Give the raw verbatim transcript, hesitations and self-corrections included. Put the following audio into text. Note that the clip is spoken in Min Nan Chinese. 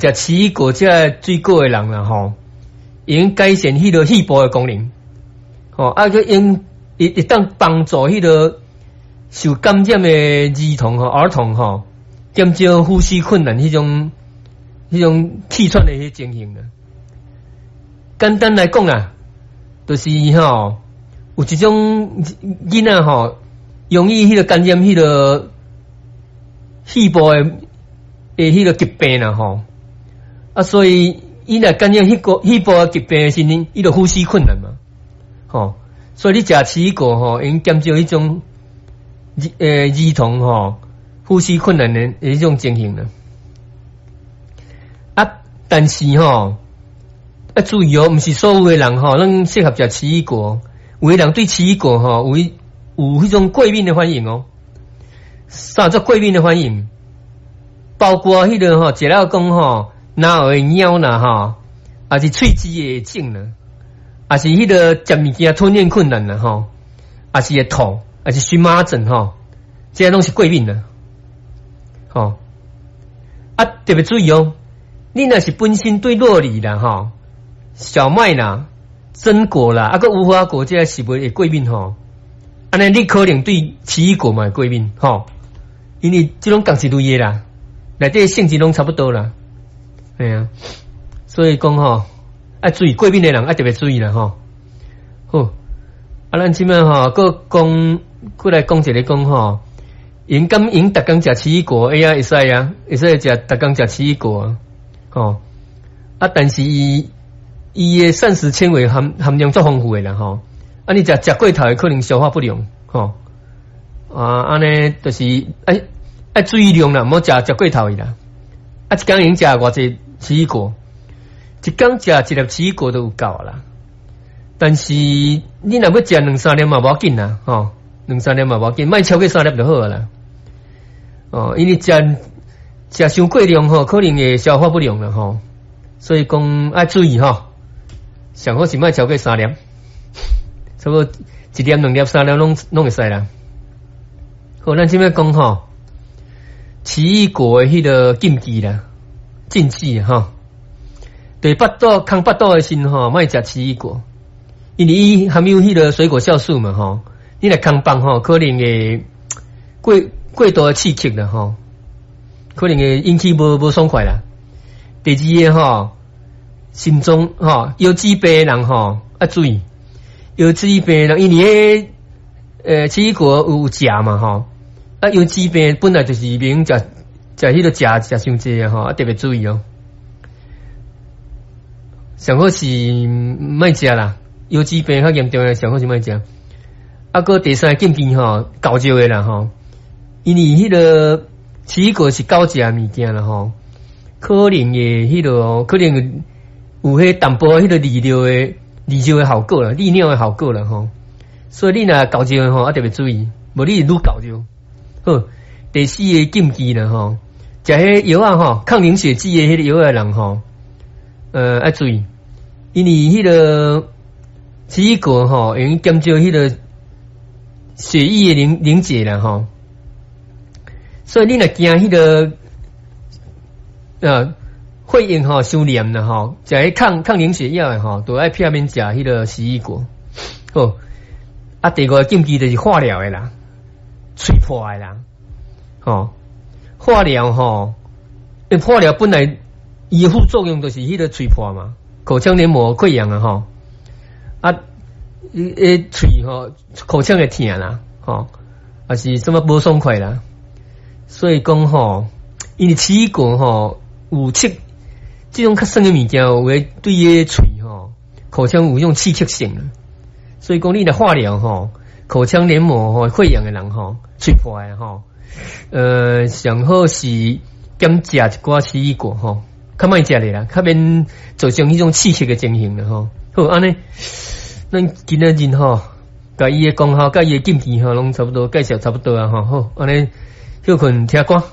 食奇異果這个水果的人啦吼，會用改善彼个肺部的功能，吼，啊，閣用會會當幫助彼个受感染的兒童吼、兒童吼，減少呼吸困難彼種彼種氣喘的彼情形啦。簡單來講啦，就是吼有一種囡仔吼，容易彼个感染彼个肺部的的彼个疾病啦吼。啊，所以伊若感染彼个肺部的疾病的時陣，伊就呼吸困難嘛，吼。所以你食奇異果吼，會用減少彼種呃兒童吼呼吸困難的彼種情形啦。啊，但是吼，愛注意哦，毋是所有的人吼攏適合食奇異果。有的人對奇異果吼有有彼種過敏的反應哦。啥叫過敏的反應？包括彼个吼，食了講吼，嚨會癢啦吼，抑是喙舌會腫啦，抑是彼个食物件吞嚥困難啦吼，抑是會吐，抑是蕁麻疹吼，這攏是過敏啦。吼，啊，特別注意哦，你若是本身對酪梨啦吼、小麥啦、榛果啦，啊閣無花果這个食物會過敏吼，按呢你可能對奇異果嘛會過敏吼，因為這攏仝一類的啦，內底性質攏差不多啦，嘿啊，所以講吼，愛注意過敏的人愛特別注意啦吼。好，啊，咱這擺吼，閣講，閣來講一个講吼，𪜶敢會逐工食奇異果，會啊，會使啊，會使食逐工食奇異果啊，吼，啊，但是伊伊的膳食纖維含含量足豐富的啦吼，啊，你食食過頭的可能消化不良，吼，啊，按呢就是愛愛注意量啦，毋好食食過頭去啦，啊，一工會用食偌濟奇異果，一工食一粒奇異果就有夠啦。但是你若欲食兩三粒嘛無要緊啦，吼，兩三粒嘛無要緊，莫超過三粒就好啦。哦，因為食食傷過量吼，可能會消化不良啦吼，所以講愛注意吼，上好是莫超過三粒，差不多一粒、兩粒、三粒攏攏會使啦。好，咱這擺講吼，奇異果的彼个禁忌啦，禁忌吼，對腹肚空腹肚的時吼，莫食奇異果。因為伊含有彼个水果酵素嘛吼，你若空腹吼，可能會過過度的刺激啦吼，可能會引起無無爽快啦。第二个吼，心臟吼腰子病的人吼愛注意，腰子病的人因為彼呃奇異果有鉀嘛吼，啊腰子病本來就是袂用食食彼个鉀食傷濟吼，啊特別注意哦。上好是莫食啦。腰子病較嚴重的，上好是莫食。啊，閣第三個禁忌吼，厚肉的啦吼，因為彼个奇異果是厚食的物件啦吼，可能會彼个可能有彼淡薄彼个利尿的利尿的效果啦，利尿的效果啦吼。所以你若厚肉的吼，啊特別注意，無你會愈厚肉。好，第四个禁忌啦吼，食彼藥仔吼，抗凝血劑的彼个藥的人吼，呃，愛注意，因為彼个奇異果吼，會用減少彼个血液的凝凝結啦吼，所以你若驚彼个呃血液吼傷黏啦吼，食彼抗抗凝血藥的吼，都愛避免食彼个奇異果。好，啊，第五个禁忌就是化療的啦，喙破的啦，吼，化療吼，化療本來伊的副作用就是彼个喙破嘛，口腔黏膜潰瘍啊吼。啊，彼喙吼，口腔會疼啦，吼，抑是啥物無爽快啦，所以講吼，因為奇異果吼有刺，這種較酸的物件有會對彼喙吼口腔有彼種刺激性，所以講你若化療吼，口腔黏膜吼潰瘍的人吼，喙破的吼，呃，上好是減食一寡奇異果吼，較莫食咧啦，較免造成彼種刺激的情形啦吼。好，按呢，咱今仔日吼，共伊的功效、共伊的禁忌吼，攏差不多介紹差不多啊吼。好，按呢，歇睏聽歌。